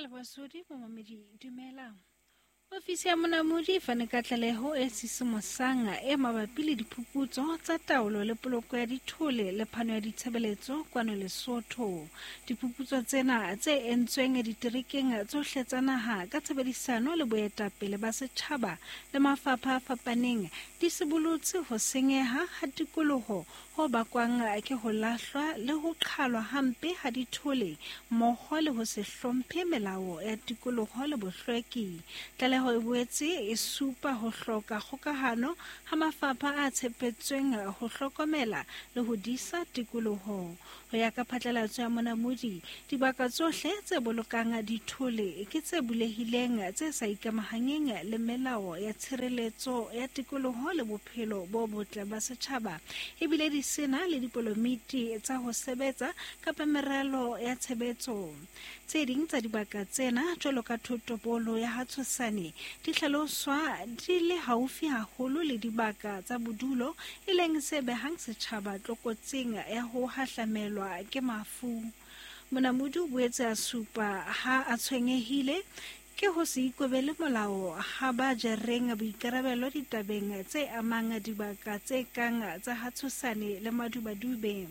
Ke leboha Sodi, momamedi, dumela. Ofisi ya Monamodi e fane ka tlaleho e sisimosang e mabapi le diphuputso tsa taolo le poloko ya dithole le phano ya ditshebeletso kwano Lesotho. Diphuputso tsena tse entsweng diterekeng tsohle tsa naha ka tshebedisano le boetapele ba setjhaba le mafapha a fapaneng di sibolotse ho senyeha ha tikoloho ho bakwang ke ho lahlwa le ho qhalwa hampe ha dithole mmoho le ho se hlomphe melao ya tikoloho le bohlweki. Tlaleho e boetse e supa ho hloka kgokahano ha mafapha a tshepetsweng ho hlokomela le ho disa tikoloho. Ho ya ka phatlalatso ya Monamodi, dibaka tsohle tse bolokang dithole ke tse bulehileng tse sa ikamahanyeng le melao ya tshireletso ya tikoloho le bophelo bo botle ba setjhaba, ebile di sena le dipolomiti tsa ho sebetsa kapa meralo ya tshebetso. Tse ding tsa dibaka tsena, jwalo ka thotobolo ya ha Tshosane, di hlaloswa di le haufi haholo le dibaka tsa bodulo, e leng se behang setjhaba tlokotsing ya ho hahlamelwa ke mafu. Monamodi o boetse a supa ha a tshwenyehile ke ho se ikobele molao ha ba jereng boikarabelo ditabeng tse amang dibaka tse kang tsa ha Tshosane le Madubadube.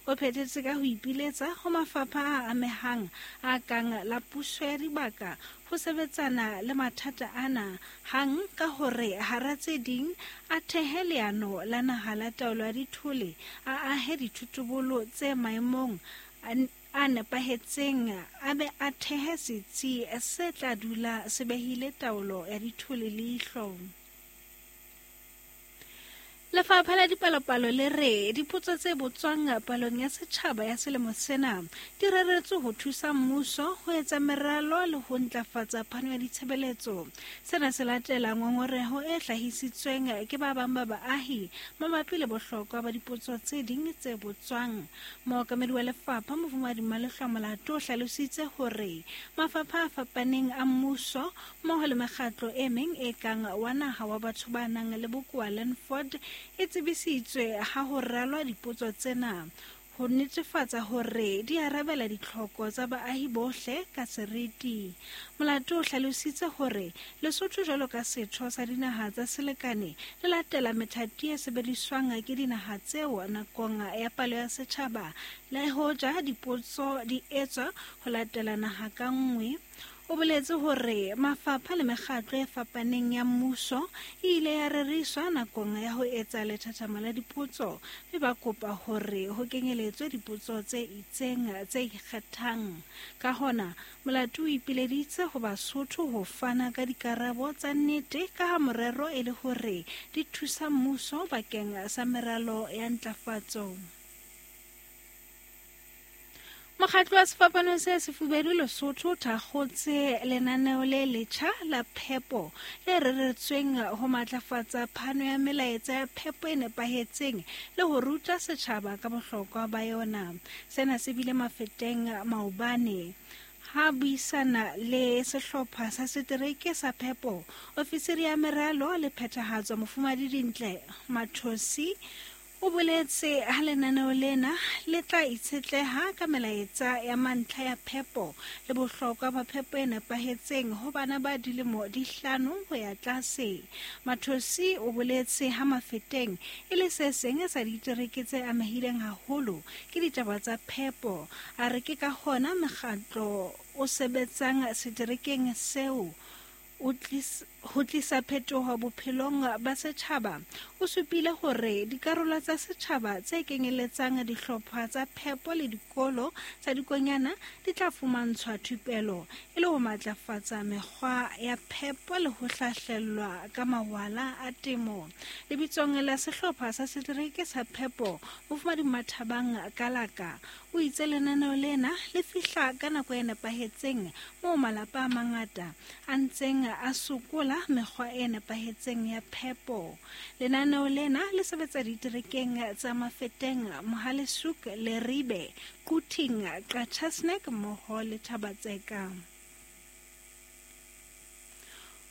O phethetse ka ho ipiletsa ho mafapha a amehang a kang la puso ya dibaka ho sebetsana le mathata ana hang ka hore hara tse ding a thehe leano la naha la taolo ya dithole, a ahe dithotobolo tse maemong a nepahetseng, a be a thehe setsi se tla dula se behile taolo ya dithole leihlo. Lefapha la Dipalopalo le re dipotso tse botswang palong ya setjhaba ya selemo sena di reretswe ho thusa mmuso ho etsa meralo le ho ntlafatsa phano ya ditshebeletso. Sena se latela ngongoreho e hlahisitsweng ke ba bang ba baahi mabapi le bohlokwa ba dipotso tse ding tse botswang. Mookamedi wa lefapha Mofumahadi Malehlwa Molato o hlalositse hore mafapha a fapaneng a mmuso mmoho le mekgatlo e meng e kang wa naha wa batho ba nang le bokowa Landford e tsebisitswe ha ho ralwa dipotso tsena ho netefatsa hore di arabela ditlhoko tsa baahi bohle ka seriti. Molato o hlalositse hore Lesotho jwalo ka setho sa dinaha tsa selekane le latela methati e sebediswang ke dinaha tseo nakong ya palo ya setjhaba, le hoja dipotso di etswa ho latela naha ka nngwe. O boletse hore mafapha le mekgatlo e fapaneng ya mmuso e ile ya reriswa nakong ya ho etsa lethathamo la dipotso, mme ba kopa hore ho kenyeletswe dipotso tse itseng tse ikgethang. Ka hona, Molato o ipileditse ho Basotho ho fana ka dikarabo tsa nnete ka ha morero e le hore di thusa mmuso bakeng sa meralo ya ntlafatso. Mokgatlo wa Sefapano se Sefubedu Lesotho o thakgotse lenaneo le letjha la phepo le reretsweng ho matlafatsa phano ya melaetsa ya phepo e nepahetseng le ho ruta setjhaba ka bohlokwa ba yona. Sena se bile mafeteng maobane ha buisana le sehlopha sa setereke sa phepo, ofisiri ya meralo le phethahatso Mofumahadi Dintle Mathosi o boletse ha lenaneo lena le tla itshetleha ka melaetsa ya mantlha ya phepo le bohlokwa ba phepo e nepahetseng ho bana ba dilemo di 5 ho ya tlase. Mathosi o boletse ha Mafeteng e le se seng sa ditereke tse amehileng haholo ke ditaba tsa phepo. A re ke ka hona mekgatlo o sebetsang seterekeng seo ho tlisa phetoho bophelong ba setjhaba. O supile hore dikarolo tsa setjhaba tse kenyeletsang dihlopha tsa phepo le dikolo tsa dikonyana di tla fumantshwa thupelo e le ho matlafatsa mekgwa ya phepo le ho hlahlellwa ka mawala a temo. Lebitsong la sehlopha sa setereke sa phepo, Mofumahadi Mathabang Kalaka o itse lenaneo lena le fihla ka nako e nepahetseng moo malapa a mangata a ntseng a sokola mekgwa e nepahetseng ya phepo. Lenaneo lena le sebetsa diterekeng tsa Mafeteng, Mohale'shoek, Leribe, Quthing, Qacha's-Nek mmoho le Thaba-Tseka.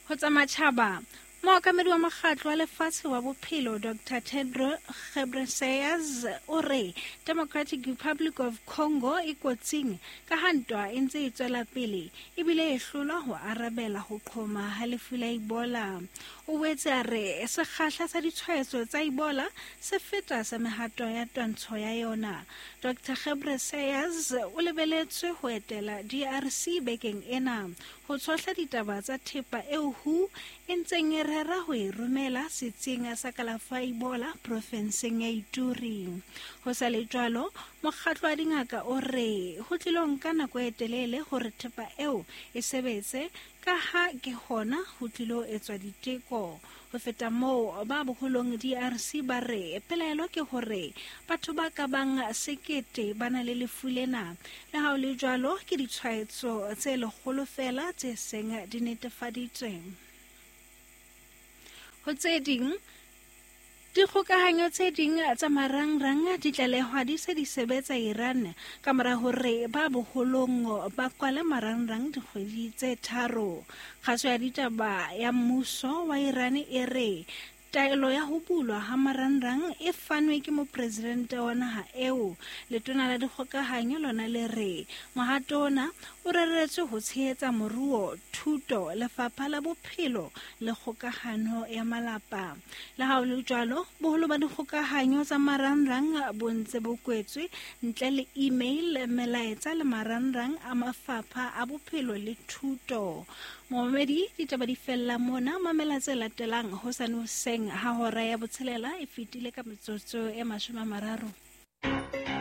Ho tsa matjhaba, Mookamedi wa Mokgatlo wa Lefatshe wa Bophelo, Doctor Tedros Ghebreyesus o re Democratic Republic of Congo e kotsing ka ha ntwa e ntse e tswela pele ebile e hlolwa ho arabela ho qhoma ha lefu la Ebola. O boetse a re sekgahla sa ditshwaetso tsa Ebola se feta sa mehato ya twantsho ya yona. Doctor Ghebreyesus o lebeletswe ho etela DRC bekeng ena ho tshohla ditaba tsa thepa eo WHO e ntseng e rera ho e romela setsing sa kalafo ya Ebola profenseng ya Ituri. Ho sa le jwalo, mokgatlo wa dingaka o re ho tlilo nka nako e telele hore thepa eo e sebetse ka ha ke hona ho tlilo etswa diteko. Ho feta moo, ba boholong DRC ba re pelaelo ke hore batho ba ka bang 1000 ba na le lefu lena. Le ha ho le jwalo, ke ditshwaetso tse 100 feela tse seng di netefaditswe. Ho tse ding, dikgokahanyo tse ding tsa marangrang di tlalehwa di se di sebetsa Iran ka mora hore ba boholong ba kwale marangrang dikgwedi tse 3. Kgaso ya ditaba ya mmuso wa Iran e re taelo ya ho bulwa ha marangrang e fanwe ke mopresidente wa naha eo. Letona la dikgokahanyo lona le re mohato ona o reretswe ho tshehetsa moruo, thuto, lefapha la bophelo le kgokahano ya malapa. Le ha ho le jwalo, boholo ba dikgokahanyo tsa marangrang bo ntse bo kwetswe ntle le email, melaetsa le marangrang a mafapha a bophelo le thuto. Momamedi, ditaba di fella mona. Mamela tse latelang hosane hoseng ha hora ya 6 e fetile ka metsotso e 30.